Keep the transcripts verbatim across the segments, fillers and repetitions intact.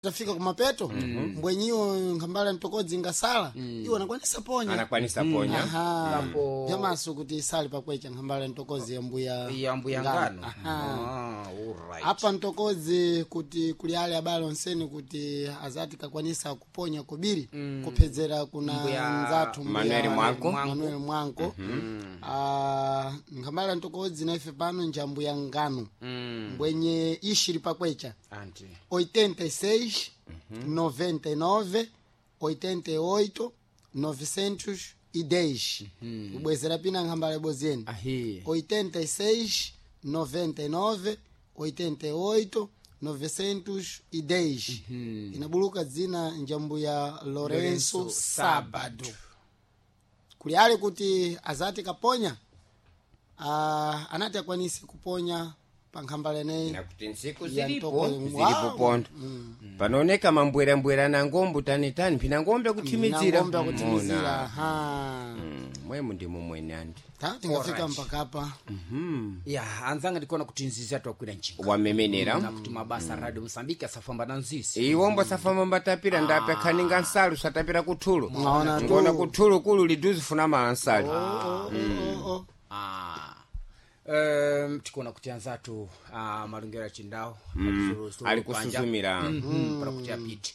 Tafika kumapeto mbwenyiwo nkhambala mtokodzi ngasala iwo anakwanisa ponya. Anakwanisa ponya. Aha. Kapo- Vyamaso kuti isali pakwecha nkhambala mtokozi ya mbuya Ya mbuya ngano. Aha. Ah, alright. Apa mtokozi kuti kuli ale abale onseni kuti azati kakwanisa kuponya kubiri kuphedzera kuna Mbuya nzathu mbuya Manuel Mwanko. Manuel Mwanko. Ah, nkhambala mtokozi na ife pano njambuya ngano Mm. mbwenye ishiri pakwecha Anti. oitenta e seis noventa e nove oitenta e oito novecentos e dez. Kubwezera pina nkhambala iboziyeni. Ahi. oitenta e seis noventa e nove oitenta e oito novecentos e dez. Inabuluka dzina njambu ya Lourenço Lourenço Sábado. Kuli ale kuti azati kaponya, ah, anati akwanise kuponya pa nkhambala ineyi Nakuti ntsiku ya zilipo mtoko- zilipo Wow. pondo panooneka mambwerambwera na ngombe tanitani phina ngombe akuthimizira. Ngombe akuthimizira. Mona. Aha. Mm, mwemu ndimo mwene andi. Ta tingafika Alright. mpaka apa. Ya, anzanga ndikuona kuti nzizi atwakwira njinga. Wamemenera. Nakuti mabasa Radio Mosambiki asafamba na nzizi. Iwombo safamba mbatapira ndape khaninga nsalu satapira kuthulo. Mwaona tu. Ngona kuthulo kulu liduzi funa mala nsalu. Oh, oh, oh, oh. Ah. Um, tikuona kuti anzathu ah, malungero achindawo Ali kusuzumira. mm. Para kuti apite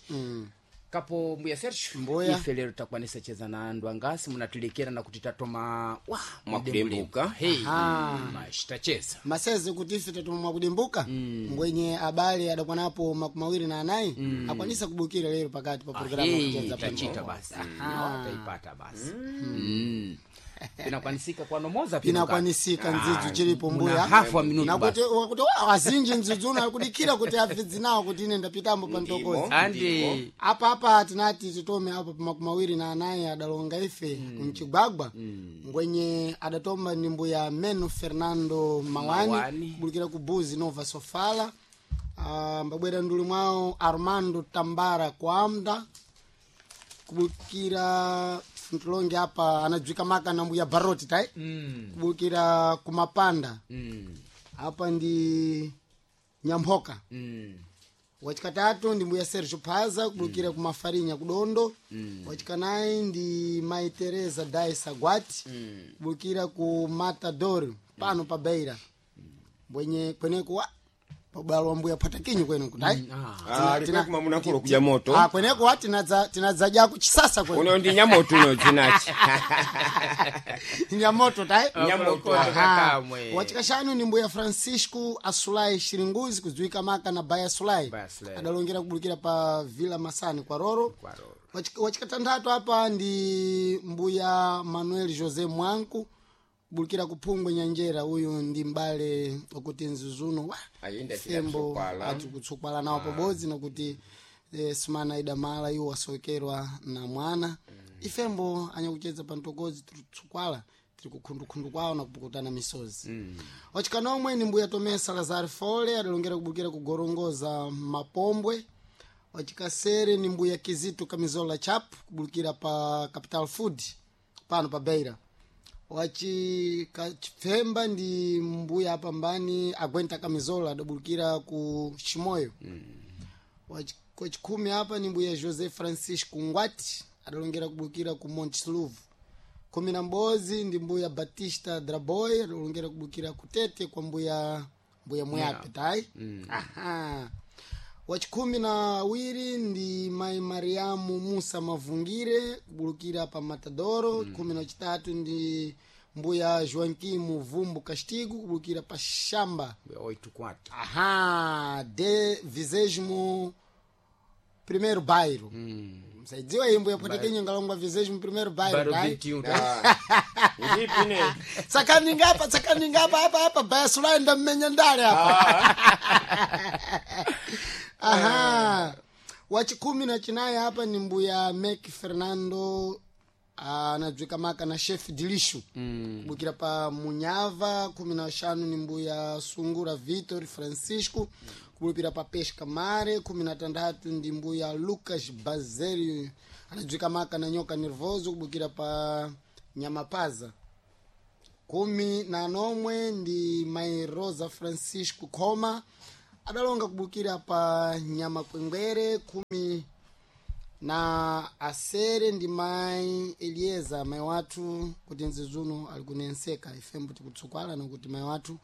kapo mbuya Sergio. Mbuya. Ife lero takwanisa cheza na andu angasi munatulekera na kuti tatoma wa Mwakudembuka. Hey, mashi tacheza. Maseze kuti ife tatuma mwakudimbuka mbwenye abale adakwanapo makumi awiri na anayi akwanisa kubukira lero pakati pa programu Hey, yakucheza pa tachita Mtoko. basi. No, taipata basi. Mm. Pinakwanisika kwanomoza pino. Pinakwanisika ndzidzu chilipo muna mbuya. hafu wa minutu. Nakuti wakuti wa azinji ndzidzu uno akudikira kuti abvidzi nawo kuti ine ndapitambo pa mtokozi. Andi. Apa apa tinati titome apa pa makumi awiri na anayi adalonga ife mchigwagwa ngwenye adatomba ni mbuya Meno Fernando Mawani, Mawani. Kubulukira ku Buzi Nova Sofala. Ah, mbabwera nduli mwawo Armando Tambara Kwamda kubukira mtilonge apa anadziwika maka na mbuya Baroti tai kubukira kumapanda Mm. apa ndi Nyamphoka. Mm. Wachikatatu ndi mbuya Sergio Phaza kubukira mm. kumafarinya kudondo mm. Wachikanayi ndi mai Teresa Dai Sagwati mm. kubukira ku Matador pano pa Beira mbwenye kweneko wa pabwalo wa mbuya Patakinyo kwene kudai. Ah. Ah, Tina- likwe munakulo kuja moto. Ah, kweneko wa tinadza tinadzadya kuchisasa kwene. Uno ndi nyamoto uno dzinachi. Nyamoto tai. Nyamoto. Aha. Kakamwe. Wachikashanu ni mbuya Francisco Asulai Shiringuzi kudziwika maka na Baya Sulai. Baya Sulai. Adalongera kubulukira pa Villa Masani kwa Roro. Kwa Roro. Wachik- wachikatanthatu apa ndi mbuya Manuel José Mwanku kubulukira kuphungwe Nyanjera. Uyu ndi mbale wakuti nzuzuno wa Ayenda fembo tikutsopala. ati kutsokwala nawo pabodzi nakuti eh, sumana idamala iwo wasokerwa na mwana. Ifembo anyakucheza pa mtokozi tiri kutsukwala tiri kukhundukhundu kwawo na kupukutana misozi mm. Wachikanomwe ni mbuya Tomé Salazar Fole adalongera kubukira kugorongoza Mapombwe. Wachikasere ni mbuya Kizito Kamizola Chap kubulukira pa Capital Food pano pa Beira. Wachikachipfemba ndi mbuya apambani Agwenta Kamizola adabulukira ku Chimoyo mm. Wachikhumi apa ni mbuya José Francisco Ngwati adalongera kubulukira ku Monteluvo. Khumi na m'bodzi ndi mbuya Batista Draboy adalongera kubulukira kutete kwa mbuya mbuya Muyape tai mm. Aha. Wachikhumi na awiri ndi mai Mariamu Musa Mavungire kubulukira pa Matadoro mm. Khumi na chitatu ndi mbuya Joaquim Vumbu Castigo kubulukira pa Shamba. Oito quatro. Aha, de vigésimo primeiro bairro mm. Msaidziwa iyi mbuya Potekenyo ngalongwa vigésimo primeiro bairro. Baro Dai vinte e um. Ndipi ne? Tsakaninga apa tsakaninga apa apa apa baya Sulai ndammenya ndale apa. Aha. Wachikhumi na chinayi apa ni mbuya Mek Fernando anadziwika maka na Chef Dilishu mm. kubukira pa Munyava. Khumi na waxanu ni mbuya Sungura Vitor Francisco kubulukira pa Pesca Mare. Khumi na tanthatu ndi mbuya Lucas Bazerio anadziwika maka na Nyoka Nervoso kubukira pa Nyamapaza. Kumi na nomwe ndi mai Rosa Francisco Coma. adalonga kubukira pa Nyamakwengwere. Khumi na asere ndi mayi Elieza, mayi wathu kuti nzizuno ali kunenseka. Ifembo tikutsukwala nokuti mayi wathu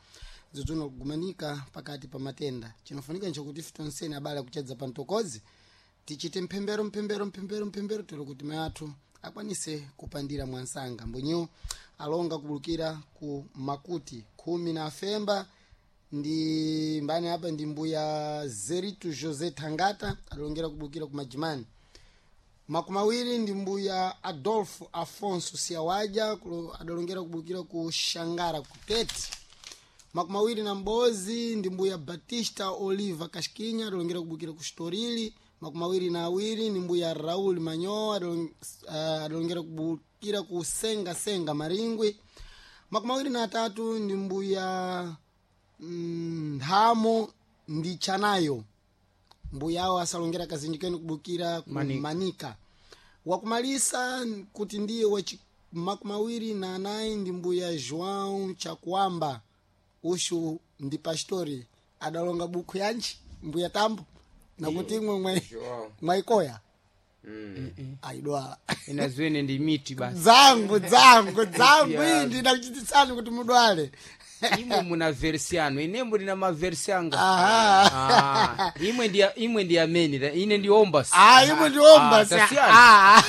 nzizuno kugumanika pakati pa matenda. Chinofunika nchokuti ife tonsene abale akuchedza pa mtokozi tichite mphembero, mphembero, mphembero, mphembero, tero kuti mayi athu akwanise kupandira mwansanga. Mbwenyewo alonga kubulukira ku Makuti. Khumi na afemba ndi mbani apa? Ndi mbuya Zeritu José Thangata, adalongera kubulukira ku Majimani. Makumi awiri ndi mbuya Adolfo Afonso Siawaja, kulo- adalongera kubulukira ku Shangara kutete. Makumi awiri na m'bodzi ndi mbuya Batista Oliva Kashikinya, adalongera kubukira ku Storili. Makumi awiri na awiri ndi mbuya Raul Manyoa, adalong- eh, adalongera kubukira ku Senga Senga Maringwi. Makumi awiri na atatu ndi mbuya mm, Nthamo ndi Chanayo, mbuya awo asalongera kazinji kenu kubukira ku Manika, Manika. Wakumalisa kuti ndiye wachi makumi awiri na anayi ndi mbuya João Chakuamba, ushu ndi pastori, adalonga bukhu yanji mbuya Tambo nakuti imwe mwe João. mwaikoya aidwala. Ina zwene ndi miti basi. Dzangu, dzangu, dzangu. Yeah. Iyi ndinakuchititsani kuti mudwale. Imwe muna versi yanu, inembo ndina maversi anga. Aha. Ah, imwe ndi imwe ndi amene ta- ine ndi ombas. Ah, imwe ndi ombas. Ah, tasiyana. Ah.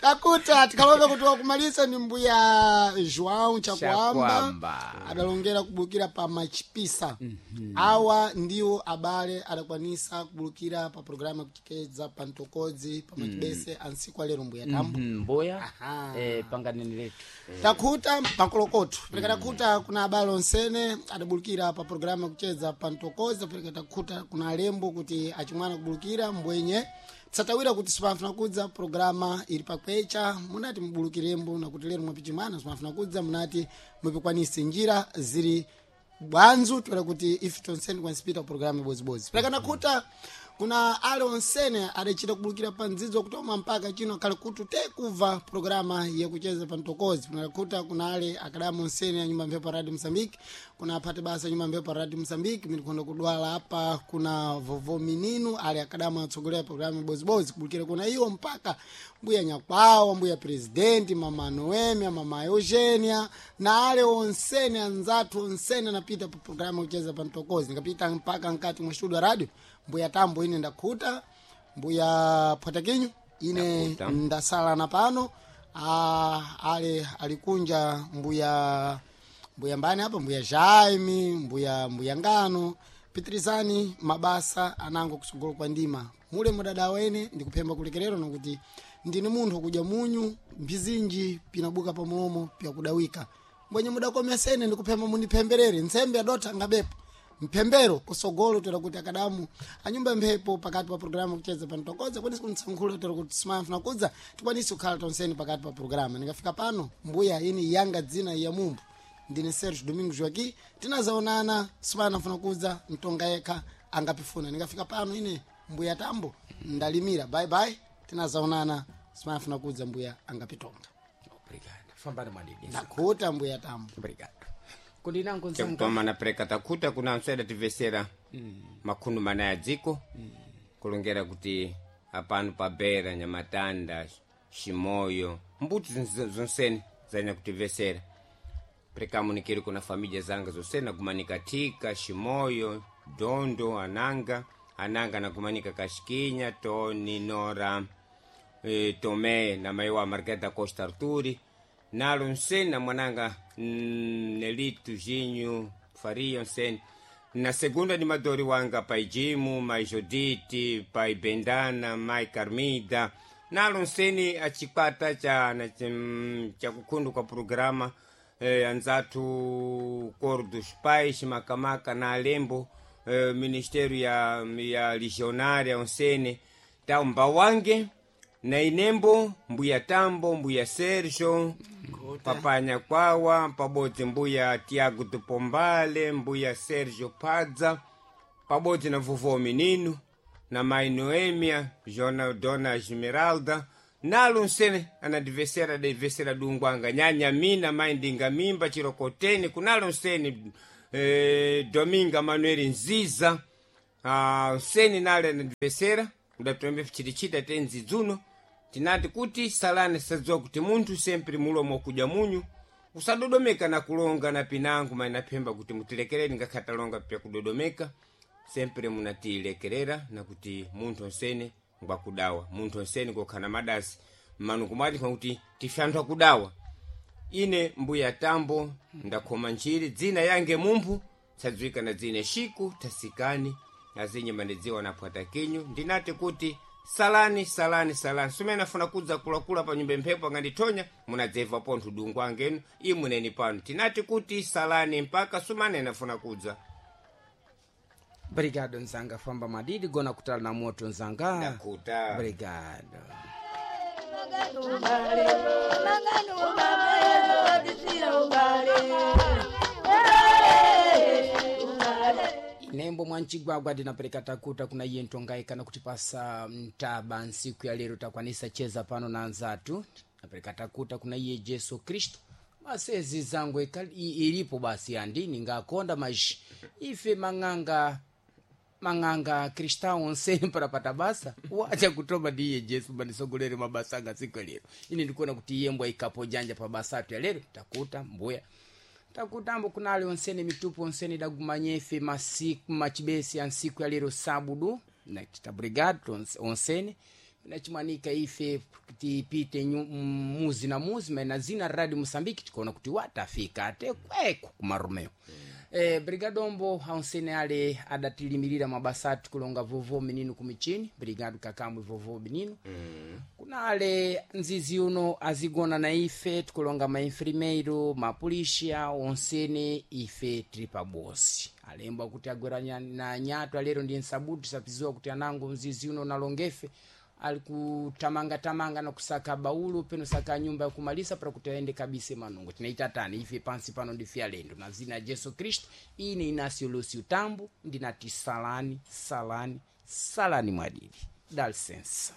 Takuta tikalonga kuti wakumalisa ni mbuya João Chakuamba, Chakuamba. adalongera kubulukira pa Machipisa. Awa ndiwo abale adakwanisa kubulukira pa programu yakuchikeza pa mtokodzi pa Machibese ansiku alero, mbuya Tambo. Mhm, mboya. Aha. Eh, panganeni letu. Takhuta pakolokoto pereka takhuta kuna abale onsene adabulukira pa programu yakucheza pa mtokozi. Pereka takhuta kuna alembo kuti achimwana kubulukira mbwenye tisatawira kuti sipamfuna kudza programa ili pakwecha, munati mubulukirembo nakuti lero mwapichimwana sipamfuna kudza, munati mupikwanise njira ziri bwanzu toera kuti ife tonsene tikwanisipita programu ibozibodzi. Pereka nakhuta kuna ale onsene adachita kubulukira pa ndzidzo kutoma mpaka chino akhale kutu te kubva programa yakucheza pa mtokozi. Kunakhuta kuna ale akadamu onsene a nyumba mphepo Radio Mozambique, kuna aphate basa nyumba mphepo Radio Mozambique minikhonda kudwala apa, kuna vovo mininu ale akadamu atsogolera programu ibozibodzi kubulukira kuna iwo mpaka mbuya Nyakwawa, mbuya presidenti, mama Noemia, mama Eugenia na ale onsene anzathu onsene anapita pa programu yakucheza pa mtokozi. Nikapita mpaka nkati mwa studio radio, mbuya Tambo ine ndakhuta, mbuya Phwatakinyu ine Ndakhuta. ndasala na pano. Ah, ale alikunja mbuya mbuya mbani apa, mbuya Jaime, mbuya mbuya Ngano, pitirizani mabasa anango kusogolo kwa ndima mule mudada wene. Ndikuphemba kulekerero nokuti ndini munthu kudya munyu mbizinji pinabuka pamulomo pyakudawika mbwenye mudakomesene. Ndikuphemba mundiphemberere ntsembe yadotha ngabepo mphembero kusogolo toera kuti akadamu anyumba mphepo pakati pa programu kucheza pa mtokoza kwanisi kunitsankhula toera kuti simafuna kudza tikwanisi kukhala tonseni pakati pa programu. Ndingafika pano mbuya ini yanga dzina ya mumbu ndine Sergio Domingo Joaqui, tinazaonana simanafuna kudza mtonga yekha angapifuna. Ndingafika pano ine mbuya Tambo ndalimira, bye bye, tinazaonana simanafuna kudza mbuya angapitonga. Obrigado, fambani mwadidi. Ndakhuta mbuya Tambo. Obrigado kundinango nzanga. Chakutoma na pereka takhuta kuna answeda tivesera makhundu mana ya dziko kulongera kuti apano pa Bera, Nyamatanda, Ximoyo, mbuti zon- zonsene zanya kutivesera. Perekamunikiri kuna família zanga zonsene nakumanika Thika, Ximoyo, Dondo, Ananga, Ananga nakumanika Kashikinya, Tony, Nora, eh, Tomé na mai wa Margarida Costa Arturi nalo nsene na mwananga mm, Nelito Ginho Faria nsene na segunda ni madori wanga pai Jimu, mai Jodite, pai Bendana, mai Carmida nalo nsene achikwata cha na chim- cha kukhundu kwa programa eh, anzathu Coro dos Pais Makamaka na Alembo, eh, Ministério ya, ya Legionária onsene tau mbawange na inembo mbuya Tambo, mbuya Sergio, papa Nyakwawa pabodzi mbuya Tiago do Pombale, mbuya Sergio Padza pabodzi na vovó Menino na mai Noêmia Jona, Dona Esmeralda nalo nsene anadivesera devesera dungwanga nyanya mina mai ndinga mimba chirokoteni kunalo nsene. eh, Dominga Manuel Nziza, ah, seni nale anandipesera udatombe chitichita tenzi dzuno. Tinati kuti salani sadziwa kuti munthu sempre mulomo kudya munyu usadodomeka na kulonga na pinango mainaphemba kuti mutilekereni ngakhale talonga pya kudodomeka sempre munatilekerera na kuti munthu onsene ngwakudawa, munthu onsene ngokhala madasi mmanu kumati kuti tife anthu akudawa. Ine mbuya tambo ndakhoma ntchiri dzina yange mumphu tsadziwika na dzine Shiku Tasikani azinye mandidziwa na phwata kinyu. Ndinati kuti salani salani salani sumene afuna kudza kulakula pa nyumba mphepo angandithonya munadzeva pontho dungu angenu imuneni pano. Tinati kuti salani mpaka sumane anafuna kudza. Obrigado nzanga famba madidi gona kutala na moto nzanga. Ndakuta. Obrigado. Nembo mwanchigwagwa ndinapereka takuta kuna iye ntongai kana kutipasa mtaba nsiku ya lero takwanisa cheza pano na anzatu. Napereka takuta kuna iye Jesu Kristo masezi zangu ikali- i- ilipo basi andini ngakonda maji ife mang'anga mang'anga kristau onsene parapata basa wacha kutoma ndi iye Jesu bandisogolere mabasa anga siku ya lero. Ine ndikuona kuti iye mbwa ikapo janja pa basa atu ya lero takuta mbuya takutambo kunali onsene mitupu onsene dagumanyefe masiku machibesi ya nsiku ya lero sabudu nakita brigado onsene nachimwanika ife tipite nyu- muzi na muzi maina zina radio Moçambique tikuona kuti watafika ate kweko kumarumeo. Eh, brigadombo aonsene ale adatilimirira mabasa atu kulonga vovo menino kumichini. Brigado kakamwe vovo menino mm. Kunale nzizi uno azigona na ife tikulonga mainfrimeiro mapulisha onsene ife tili pabosi alembwa kuti agwera nya- na nyato alero ndi nsabuti sapiziwa kuti anango mzizi uno nalongefe ali kutamangatamanga na kusaka baulu peno saka nyumba yakumalisa para kuti aende kabisa manungo. Tinaita tani ife pansi pano ndife alendo na zina ya Jesu Kristo. Ine Inácio Lúcio Tambo ndinati salani salani salani mwadidi dá licença.